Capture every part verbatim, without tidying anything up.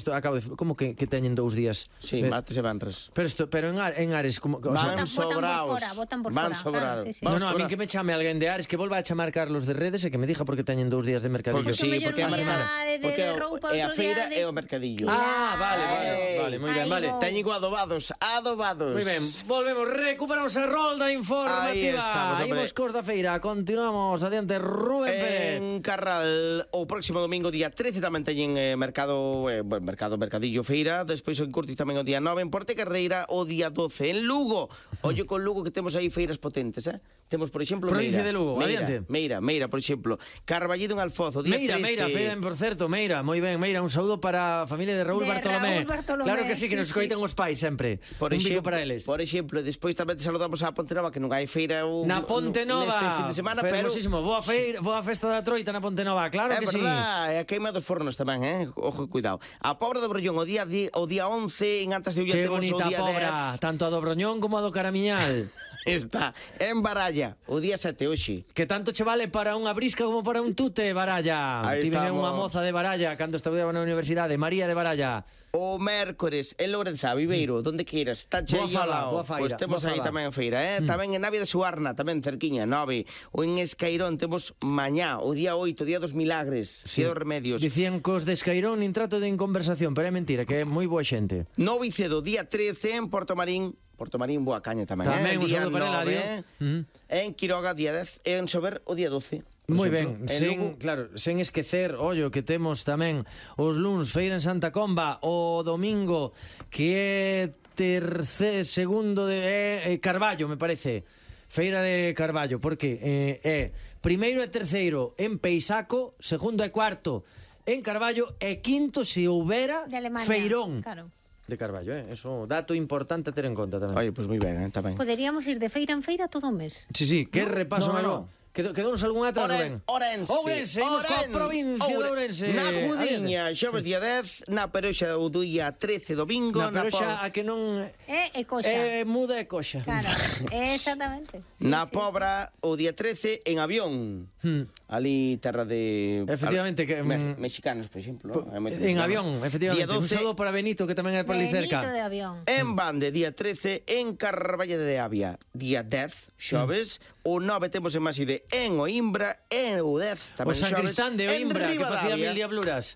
isto acabo de... Como que, que teñen dous días? Sí, de... martes e venres. Pero, esto, pero en, Ar, en Ares... Como, o van sea, sobraos. Votan por Van fora, sobraos. claro, sí, sí. No, no, a mí que me chame alguén de Ares, que volva a chamar Carlos de Redes e que me dixa porque teñen dous días de mercadillo. Porque sí, porque é un día de, de, de roupa, é a outro feira día de... e o mercadillo. Ah, vale, vale, vale, moi ben, vale. Teñen adobados, adobados. Moi ben, volvemos, recuperamos a rolda informativa. Aí estamos, hombre. Imos cos da feira, continuamos, adiante, Rubén Pérez. En Carral, o próximo domingo, día trece, tamén teñen eh, mercado, eh, mercado, mercadillo, feira. Despois en Curtis tamén o día nove, en Porte Carreira o día doce. En Lugo, ollo con Lugo que temos aí feiras potentes, eh? Temos, por exemplo, Provincia Meira. de Lugo, Meira, adiante. Meira, Meira, por exemplo. Carballido en Alfoz, o día Meira, trece. Meira, feira, por certo, Meira, moi ben, Meira, un saúdo para a familia de Raúl De Bartolomé. Raúl Bartolomé, Claro que sí, que sí, nos sí. coitan os pais sempre. Por un exemplo, bico para eles. Por exemplo, despois tamén te saludamos a Ponte Nova, que non hai feira o, Na Ponte Nova, neste fin de semana, pero fermosísimo, boa feira, boa festa da Troita na Ponte Nova, claro é que sí. verdad, é a queima dos fornos tamén, eh? Ojo, cuidado. A Pobra do Brollón, o día o día once, en Antas de Ulla Que temos o bonita día Pobra, dez. tanto a do Broñón como a do Caramiñal. Está en Baralla, o día sete hoxe. Que tanto che vale para unha brisca como para un tute, Baralla. Aí Tive estamos. unha moza de Baralla cando estaba na universidade, María de Baralla. O mércores en Lourenzá, Viveiro, donde queiras, está Boa cheio fala, ao lado. boa feira, Pois temos boa aí fala. tamén feira, eh? Mm. Tamén en Navia de Suarna, tamén cerquiña, nove. O en Escairón temos mañá, o día oito, día dos milagres, sí. Día dos remedios. Dicían cos de Escairón nin trato de conversación, pero é mentira, que é moi boa xente. Nove e cedo, día trece en Porto Marín. Porto Marín, boa caña tamén, Tamén eh? un Día saúdo para nove, Eladio. Mm. En Quiroga, día dez. E en Sober, o día doce. Moi exemplo. ben, En sen, Lugo, claro, sen esquecer, ollo, que temos tamén os luns feira en Santa Comba, o domingo que é terceiro, segundo de é, é Carballo, me parece. Feira de Carballo, porque eh, é primeiro e terceiro en Peisaco, segundo e cuarto en Carballo e quinto se houbera De Alemania, feirón. claro. De Carballo, eh? Eso, dato importante a ter en conta tamén. Oye, pois pues moi ben, eh, tamén. Poderíamos ir de feira en feira todo o mes. Sí, sí, que No, repaso, no, Mario. no. Quedou, quedounos algún atrás, Rubén? Orense. Ourense, imos coa Oren- provincia de Oure- Ourense. Na Gudiña, xoves día dez, na Peroxa o día trece domingo, Na pero xa Po- a que non É e coxa. é muda e coxa. Claro, exactamente. Sí, na sí, Pobra o día trece en avión. Hmm. Ali terra de Efectivamente, que, me, mm, mexicanos, por exemplo, Po- ¿no? Hai moitos En mexicanos. avión, efectivamente. Día Un doce saludo para Benito, que tamén é por ali Benito cerca. de avión. en Bande, día trece en Carballo de Avia, día dez, xoves, o nove temos en Maside en Oimbra, en o dez, O tamén San xoves, Cristán de en Oimbra, que facía Ribadavia. mil diabluras.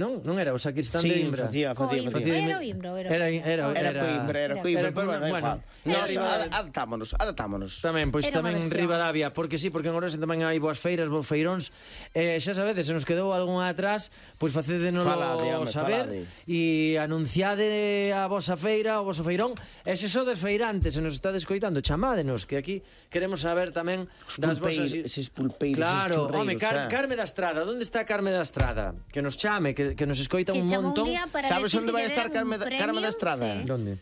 Non? Non era o San Cristán Sí, de Oimbra. facía, facía, Coimbra. facía. Era o Imbro, era. Era, era, Era era, Coimbra, era era- Coimbra, era- pero bueno, da bueno, igual. era Nos Ribadavia. ad- adaptámonos, adaptámonos. Tamén, pois Era tamén unha versión. Ribadavia, porque sí, porque en Ourense tamén hai boas feiras, boas feiróns. Eh, xa sabedes, se nos quedou algunha atrás, pois facédenos Falade, home, saber falade. e anunciade a vosa feira, o voso feirón. E se sodes feirantes, se nos está descoitando, chamádenos, que aquí queremos saber tamén das vosas... Pulpeiros, eses pulpeiros, Claro, eses home, churreiros, Car eh. Carme da Estrada, onde está Carme da Estrada? Que nos chame, que, que nos escoita Que un chamou un montón. día para Sabes decir onde que vai lle estar deran un Carme da- premio? Carme da Estrada? Sí. Donde?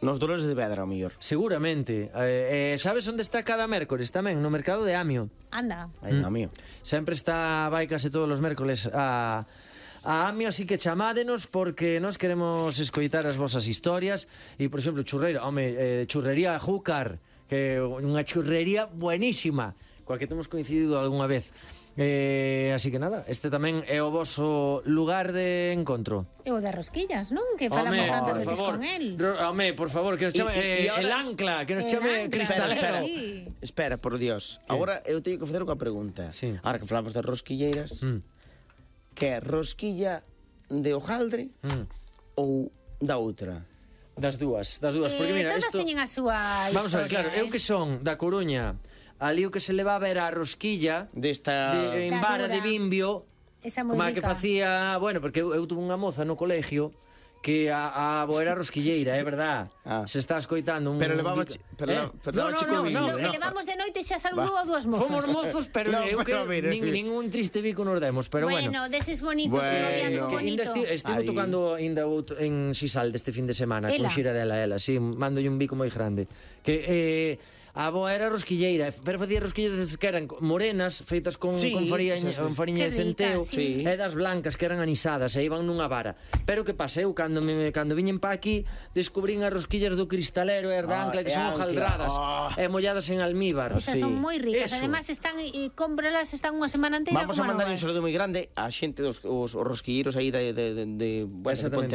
Nos Dolores de Vedra, ao mellor. Seguramente. Eh, eh, sabes onde está cada mércores tamén? No mercado de Amio. Anda. Aí, mm. mío. Sempre está, vai case todos os mércoles a, a Amio, así que chamádenos porque nos queremos escoitar as vosas historias. E, por exemplo, churreira, home, eh, churrería Júcar, que é unha churrería buenísima, coa que temos coincidido algunha vez. Eh, así que nada, este tamén é o voso lugar de encontro. E o de rosquillas, non? Que falamos Home, tantas por veces favor, con el. Ro- home, por favor, que nos Y- chame eh, y- y ahora- el ancla, que nos El chame ancla, cristalero. Espera, espera. Sí. Espera, por Dios. Agora eu teño que facer unha pregunta. Sí. Ahora que falamos de rosquilleiras, Mm, que é rosquilla de hojaldre mm. ou da outra? Das dúas, das dúas, porque Eh, mira, todas isto... teñen a súa Vamos a ver, claro, historia, eu que son da Coruña, ali o que se levaba era a rosquilla Desta... de, en Da vara dura. de bimbio, Esa moi como a que rica. facía, bueno, porque eu, eu tuve unha moza no colegio que a, a abo era rosquilleira, é verdad. Ah. Se está escoitando un... Pero levaba bico- chi- pero leva- pero leva chico No, bimbio, que no. levamos de noite xa saludou a dúas mozas. Fomos mozos, pero No, eu pero que mira, nin, mira. ningún triste bico nos demos, pero bueno. Bueno, deses bonitos, Bueno. bueno, noviazgo Que bonito. ainda esti, estivo Aí. tocando ainda out, en Sisal deste fin de semana con Ela. xira dela, ela, sí, mandolle un bico moi grande. Que eh, a avoa era rosquilleira, pero facía rosquillas que eran morenas, feitas con, Sí, con fariña, sí, sí. con fariña Que de centeo, rica, sí. e das blancas que eran anisadas e iban nunha vara. Pero que paseu cando me cando viñen pa aquí, descubrín as rosquillas do cristalero e as da Ah, ancla que e son ancla. hojaldradas Ah. e molladas en almíbar. Esas Sí. son moi ricas. Eso. Además están e cómpralas están unha semana inteira Vamos a como mandar un novas. saludo moi grande á xente dos os, os rosquilleros aí de, de, de, de, bueno, de Exactamente. Ponte